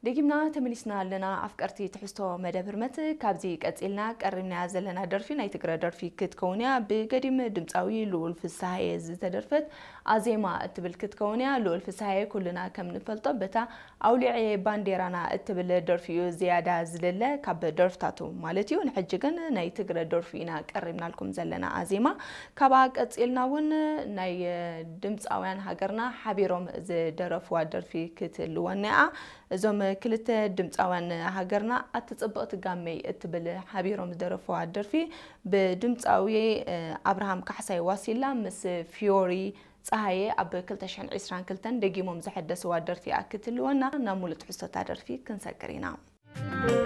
ደጊምና ተመሊስና ኣለና ኣፍቀርቲ ትሕዝቶ መደብ ህርመት። ካብዚ ቀጺልና ቀሪብናያ ዘለና ደርፊ ናይ ትግረ ደርፊ ክትከውን እያ። ብገዲም ድምጻዊ ልኡል ፍስሃየ ዝተደርፈት ኣዜማ እትብል ክትከውን እያ። ልኡል ፍስሃየ ኩልና ከም ንፈልጦ በታ ኣውሊዐ ባንዴራና እትብል ደርፊ እዩ ዝያዳ ዝልለ ካብ ደርፍታቱ ማለት እዩ። ንሕጂ ግን ናይ ትግረ ደርፊ ኢና ቀሪብናልኩም ዘለና ኣዜማ። ካብኣ ቀጺልና እውን ናይ ድምጻውያን ሃገርና ሓቢሮም ዝደረፍዋ ደርፊ ክትህልወና እያ። እዞም ክልተ ድምጻውያን ሃገርና ኣቲ ጽብቕቲ ጋመይ እትብል ሓቢሮም ዝደረፍዋ ደርፊ ብድምጻዊ ኣብርሃም ካሕሳይ ዋሲላ ምስ ፊዮሪ ጸሃየ ኣብ ክልተ ሽሕን ዕስራን ክልተን ደጊሞም ዘሐደስዋ ደርፊ እያ ክትህልወና። ናብ ሙሉእ ትሕዝቶታ ደርፊ ክንሰግር ኢና።